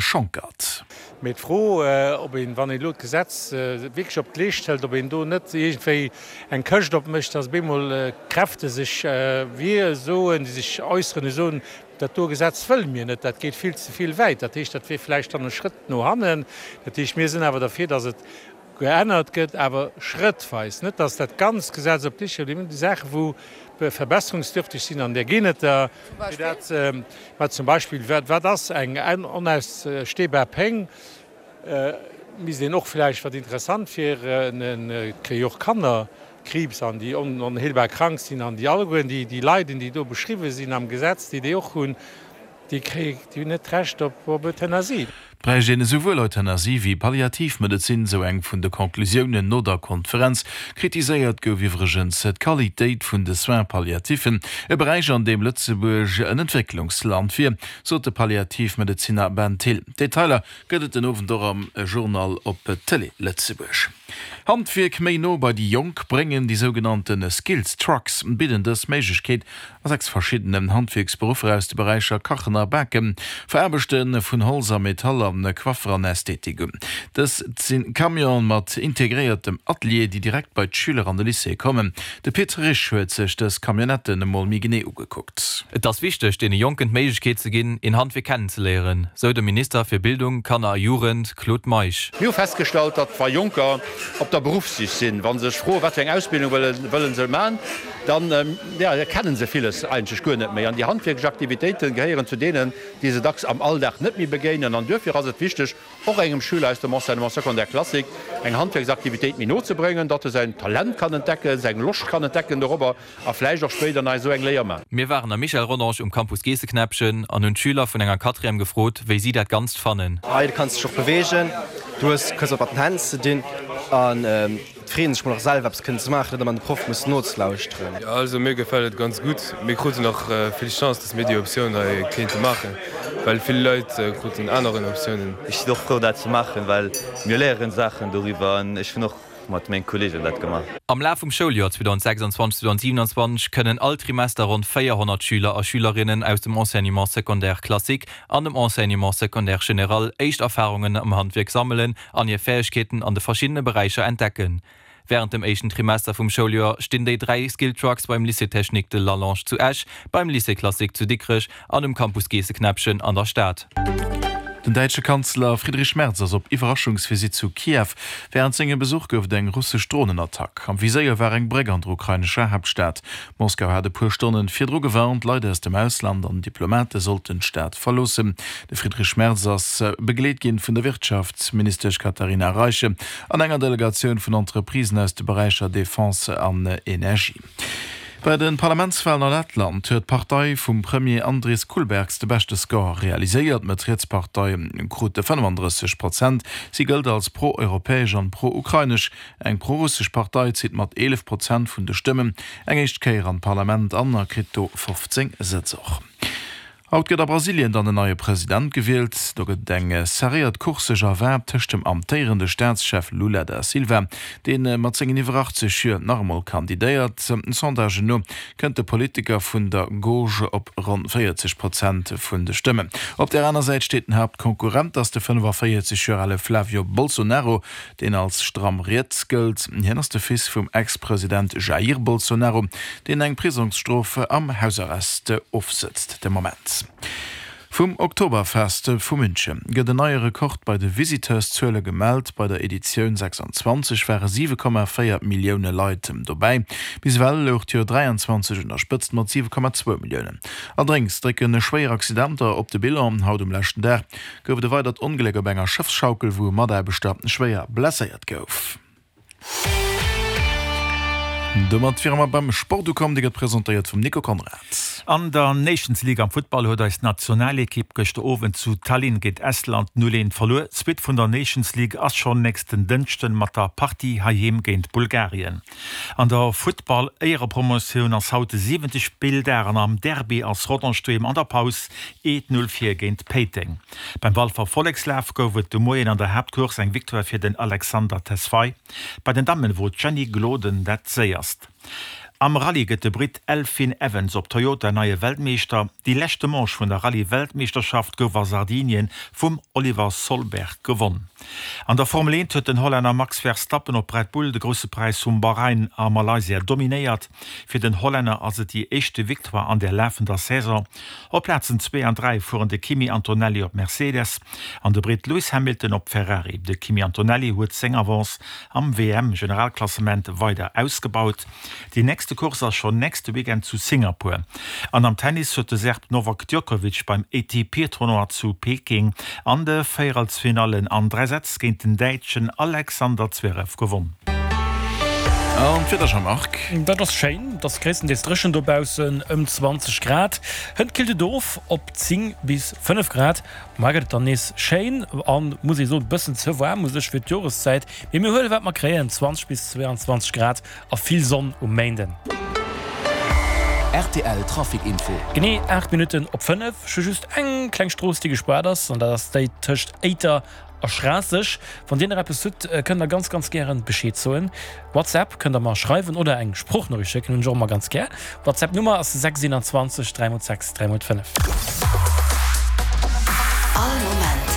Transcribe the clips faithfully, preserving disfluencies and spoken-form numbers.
Schonckert. Mee d'Fro, ob een, wann een elo d'Gesetz wierklech op d'Leescht hëlt, ob een do net iergendwéi eng Këscht opmécht, dass op eemol Kräfte sech wier soen, déi sech äusseren, déi soen, dat do Gesetz wëlle mir net, dat geet vill ze vill wäit. Dat heescht, dat wier vläicht dann e Schrëtt no hannen. Dat heescht, mir sinn awer derfir, dass et geännert gëtt, awer schrëttweis, net dass dat ganzt Gesetz op d'Leescht geholl gëtt. Déi Saache wou verbesserungsdürftig sinn, an där ginn et der, fir dat, mä zum Beispill, wat, wat ass eng onausstehbar Péng, misst een och vläicht, wat interessant wier, et kréie jo och Kanner Kriibs an déi onheelbar krank sinn an déi allegueren déi, déi Leiden, déi do beschriwwen sinn am Gesetz, déi déi och hunn, déi kréie, déi hunn net d'Recht op, op Euthanasie. Et bräicht een esouwuel Euthanasie wéi Palliativmedezin, sou eng vun de Conclusiounen no der Konferenz. Kritiséiert gouf iwwregens d'Qualitéit vun de Soins palliatifen, e Beräich an deem Lëtzebuerg en Entwécklungsland wier, sot de Palliativmedezinner Ben Thill. Detailer gëtt et den Owend och am Journal op Télé Lëtzebuerg. Handwierk méi no bei déi Jonk bréngen, déi sougenannte Skills Trucks bidden dës Méiglechkeet a sechs verschiddenen Handwierksberuffer aus de Beräicher Kachen a Baken, Veraarbechte vun Holz a Metall a Coiffer an Ästhetik un. Dëst si Camionen mat integréiertem Atelier, déi direkt bei d'Schüler an de Lycée kommen. De Pit Risch huet sech dës Camionnetten emol méi genee ugekuckt. Et ass wichteg, deene Jonken d'Méiglechkeet ze ginn, een Handwierk kennenzeléieren, sou de Minister fir Bildung, Kanner a Jugend, Claude Meisch. Mir hu festgestallt, datt wa Jonker op der Beruffssich sinn, wa se sech froen, wat fir eng Ausbildung wëlle se maachen, dann kennen se villes eigentlech guer net méi. An déi handwierklech Aktivitéite gehéieren zu deenen, déi se dacks am Alldag net méi begéinen. An duerfir ass et wichteg, och engem Schüler aus dem Enseignement secondaire classique eng Handwierksaktivitéit méi no ze bréngen, datt e säin Talent kann entdecken, seng Loscht kann entdecken dorobber a vläicht och spéider nach esou eng Léier man. Mir waren am Michel Rodange um Campus Geesseknäppchen an hunn d'Schüler vun enger Quatrième gefrot, wéi si dat Ganzt fannen. Hei kanns de dech och beweegen, du hues kënns och mat den Hänn ze dinn an et freeën sech mol och selwer eppes kënnen ze maachen, net ëmmer de Proff mussen nozelauschteren. Jo also mir gefält et ganz gutt. Mir kruten och vill Chance, dass mir déi Optioun hei kéinte maachen, well vill Leit kruten aneren Optiounen. Ech sinn och frou dat ze maachen, well mir léieren Saachen doriwwer an ech hunn och mat menge Kollegen dat gemaach. Am Laf vum Schouljoer zweedausendsechsundzwanzeg, zweedausendsiewenundzwanzeg kënnen all Trimester ronn véierhonnert Schüler a Schülerinnen aus dem Enseignement secondaire classique an dem Enseignement secondaire général éischt Erfarungen am Handwierk sammelen an hir Fäegkeeten an de verschiddene Beräicher entdecken. Wärend dem éischten Trimester vum Schouljoer stinn déi dräi Skill Trucks beim Lycée Technique de Lallange zu Esch, beim Lycée Classique zu Dikrech an um Campus Geesseknäppchen an der Stad. Den däitsche Kanzler Friedrich Merz ass op Iwwerraschungsvisitt zu Kiew. Wärend sengem Besuch gouf et eng russesch Dronenattack. Am Viséier war eng Bréck an der ukrainescher Haaptstad. Moskau hat e puer Stonne virdru gewarnt, Leit aus dem Ausland an Diplomate sollten d'Stad verloossen. De Friedrich Merz ass begleet ginn vun der Wirtschaftsministesch Katharina Reiche an enger Delegatioun vun Entreprisen aus de Beräicher Defense an Energie. Bei de Parlamentswalen a Lettland huet d'Partei vum Premier Andris Kulbergs de beschte Score realiséiert. D'Mëtt-Riets-Partei krut fënnefandrësseg Prozent. Si gëllt als pro-europäesch an pro-ukrainesch. Eng pro-russesch Partei zitt mat eelef Prozent vun de Stëmmen eng éischt Kéier an d'Parlament an a kritt do fofzéng Sëtz och. Haut gëtt a Brasilien dann en neie President gewielt. Do gëtt et eng serréiert Course sech erwaart tëscht dem amtéierende Staatschef Lula da Silva, dee mat sengen iwwer achtzeg Joer nach emol kandidéiert. Sondagen no kënnt de Politiker vun der Gauche op ronn véierzeg Prozent vun de Stëmmen. Op där aner Säit steet den Haaptkonkurrent, ass de fënnefaféierzeg Joer ale Flavio Bolsonaro, deen als stramm riets gëllt. Hien ass de Fils vum Ex-President Jair Bolsonaro, deen eng Prisongsstrof am Hausarrest ofsëtzt de Moment. Vum Oktoberfest vu München gëtt en neie Rekord bei de Visiteurszuele gemellt. Bei der Editioun sechsundzwanzeg ware siwe Komma véier Millioune Leit dobäi. Bis ewell louch d'Joer dräianzwanzeg un der Spëtzt mat siwe Komma zwou Milliounen. Allerdéngs drécke schwéier Accidenter op de Bilan. Haut um leschten Dag gouf et e weidert Ongléck op enger Schëffsschaukel, wou e Mataarbechter schwéier blesséiert gouf. Domat wiere mer beim Sport ukomm, dee gëtt presentéiert vum Nico Conrad. An der Nations League am Futtball huet eis Nationalekipp gëschter Owend zu Tallinn géint Estland null eent verluer. D'Suite vun der Nations League ass schonn nächsten Dënschden mat der Partie heiheem géint Bulgarien. An der Futtball-Éierepromotioun ass haut de siwente Spilldag an am Derby ass Rodange doheem an der Paus eent null vir géint Péiteng. Beim Walfer Vollekslaf gouf et de Moien an der Haaptcourse eng Victoire fir den Alexander Tesfaye. Bei den Dammen wor d'Jenny Gloden dat séierst. Am Rallye gëtt de Britt Elfyn Evans op Toyota neie Weltmeeschter. Déi leschte Manche vun der Rallye-Weltmeeschterschaft gouf a Sardinien vum Oliver Solberg gewonn. An der Formel eent huet den Hollänner Max Verstappen op Red Bull de Grousse Präis vum Bahrain a Malaysia dominéiert. Fir den Hollänner ass et déi éischte Victoire an der lafender Saison. Op Plazen zwee an dräi fueren de Kimi Antonelli op Mercedes an de Britt Lewis Hamilton op Ferrari. De Kimi Antonelli huet seng Avance am W M-Generalklassement weider ausgebaut. Déi nächste Course ass schonn nächste Weekend zu Singapur. An am Tennis huet de Serb Novak Djokovic beim A T P-Tournoi zu Peking an de Véierelsfinallen an dräi Sätz géint den Däitschen Alexander Zverev gewonn. An d'Wieder, Jean-Marc? Dat ass schéin, et ass gréisstendeels dréchen dobaussen, ëm zwanzeg Grad. Hënt killt et of op zéng bis fënnef Grad. Mar gëtt et dann nees schéin an, muss ee soen, bëssen ze waarm u sech fir d'Joreszäit. Mee mir huele wat mer kréien, zwanzeg bis zweeanzwanzeg Grad a vill Sonn um Méinden. R T L Trafic Info. Genee aacht Minutten op fënnef. Ech hu just eng kleng Strooss, déi gespaart ass, an dat ass déi tëscht Éiter a Schraasseg. Wann dir nach eppes hutt, kënnt der ganz, ganz gären Bescheed soen. WhatsApp kënnt der mer schreiwen oder eng Sproochnoriicht schécken, hunn ech och ëmmer ganz gär. WhatsApp Nummer ass sechs einundzwanzeg dräi mol sechs dräi mol fënnef. All Moment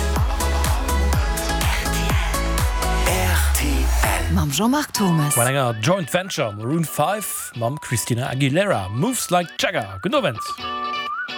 R T L. Mam Jean-Marc Thomas. Mat enger Joint Venture, Maroon five mam Christina Aguilera, Moves Like Jagger. Gudden Owend.